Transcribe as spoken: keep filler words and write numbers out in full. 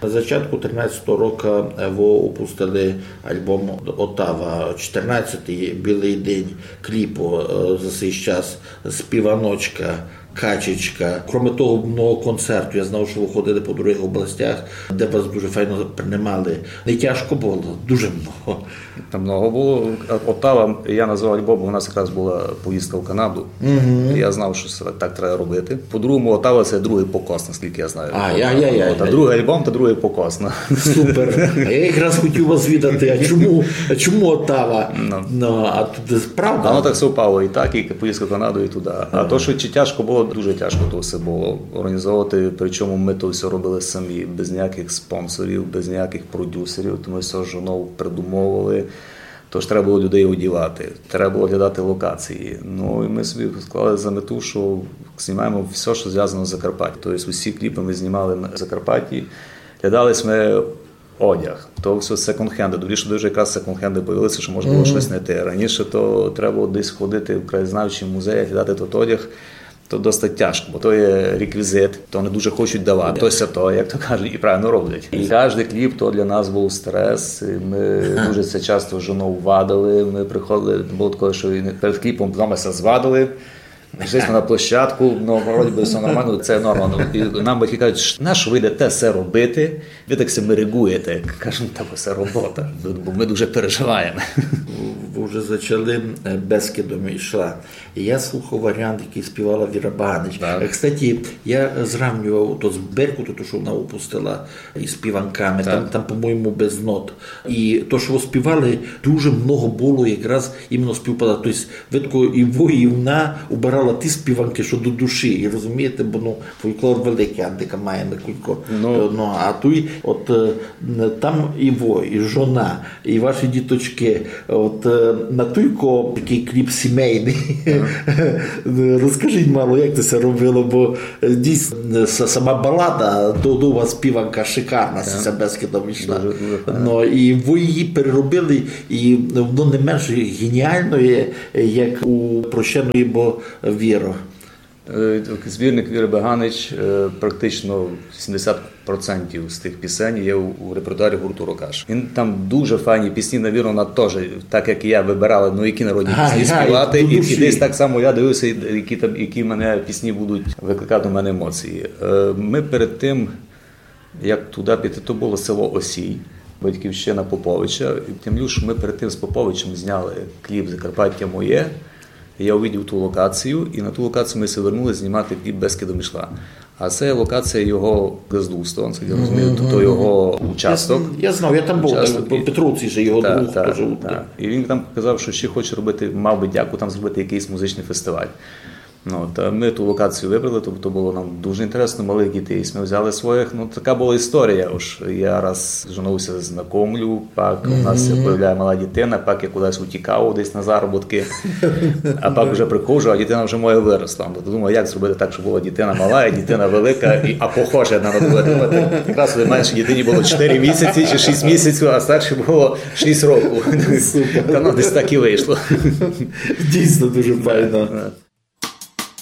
На зачатку тринадцятого року, е, вы упустили альбом «Отава», чотирнадцятый, «Білый день», кліп, е, за сей час, «Співаночка», «Качечка». Кроме того, много концертів. Я знав, што вы ходили по другых областях, де вас дуже файно принимали. Не тяжко было? Дуже много. Там много было. «Отава», я назвав альбом, бо у нас якраз была поїздка в Канаду. Я знав, што се так треба робити. По-другому, «Отава» — се другый покос, наскільки я знаю. А, я, я, я, От, а я. Другый альбом — то другый покос. Ну. Супер. А я якраз хотів вас звідати, а чому, а чому «Отава»? Ну, а тут правда. Воно так совпало, і так, і поїздка в Канаду, і туди. А то, што чи тяжко было, дуже тяжко то все было організовувати. Причому мы то все робили самі, без ніякых спонсорів, без ніякых продюсерів. То мы все з жонов придумовували. Тож треба было людей одівати, треба было глядати локації. Ну і мы собі склали за мету, што знімаємо все, што звязано з Закарпаттям. Тобто усі кліпы мы знімали на Закарпатті, глядали сьме одяг. То все секонд-хенды. Добрі, што дуже якраз секонд-хенды появилися, што можна было штось знайти. Раніше то треба было десь ходити в краєзнавчі музеї, глядати тот одяг. То досить тяжко, бо то є реквізит, то не дуже хочуть давати. То ся то, як то кажуть, і правильно роблять. І кожный кліп то для нас быв стрес. І мы дуже се часто з жонов вадили. Мы приходили, было таке, што і перед кліпом з нами ся звадили. Зайшли на площадку, ну, вроде бы все нормально, це норма. Ну, і нам батьки кажуть: «Нащо вы йдете се робити? Вы так ся мерегуєте». Кажу: «Та бо се робота, бо мы дуже переживаєме». Вы вже зачали, е, «Бескидом йшла». Я слухав варіант, якый співала Віра Баганич. Так. Е, кстати, я зравнював то з «Беркутом», то, што вона выпустила, із «Співанками». Там, там, по-моєму, без нот. І то, што вы співали, дуже много было якраз іменно співпадати. Тобто, видко, і вы, і вона обирала ті співанкы, што до душі. І розумієте, бо, ну, фолклор великый, Андика має на кулько. Ну, а туй, от, е, там і вы, і жона, і ваші діточкы. От, е, на туйко такый кліп сімейный. Розкажіть мало, як то ся робило, бо, е, дійсно, е, са-, сама балада, до, до вас співанка шикарна, ся «Бескидом йшла». Дуже, дуже файна. Ну, і вы її переробили, і воно не менш геніальноє, як у «Прощеної бо віро». Е, збірник Віри Баганич, е, практично вісімдесят процентів з тых пісень є у, у репертуарі гурту «Рокаш». Він там дуже файні пісні, навірно, вона теж, так як і я, выбирала, ну, які народні пісні співати, і, і десь так само я дивився, які там, які мене пісні будуть викликати у мене емоції. Е, мы перед тым, як туди піти, то было село Осій, батьківщина Поповича. І тим більше мы перед тым з Поповичем зняли кліп «Закарпаття моє». Я увидів ту локацію, і на ту локацію мы ся вернули знімати кліп «Бескидом йшла». А се локація його ґаздувства, наскільки я розумію, то, то його участок. Я, я знав, я там быв, Участок там, і- Петровці же його Так, друг, так, теж. Так. І він там казав, што ще хоче робити, мав би дяку там зробити якыйсь музичный фестиваль. Ну, та мы ту локацію выбрали, тобто было нам дуже інтересно, малых дітей мы взяли своїх. Ну, така была історія. Ож я раз з жонов ся знакомлю, пак у нас ся появляє мала дітина, пак я кудись утікав десь на заробіткы, а пак уже приходжу, а дітина вже моя выросла. Ну, то думаю, як зробити так, щоб была дітина мала, і дітина велика, і, а похожа одна на другу. Думаю, якраз меншій дітині было чотири місяці чи шість місяців, а старшій было шість років. Та ну, десь так і вышло. Дійсно дуже файно.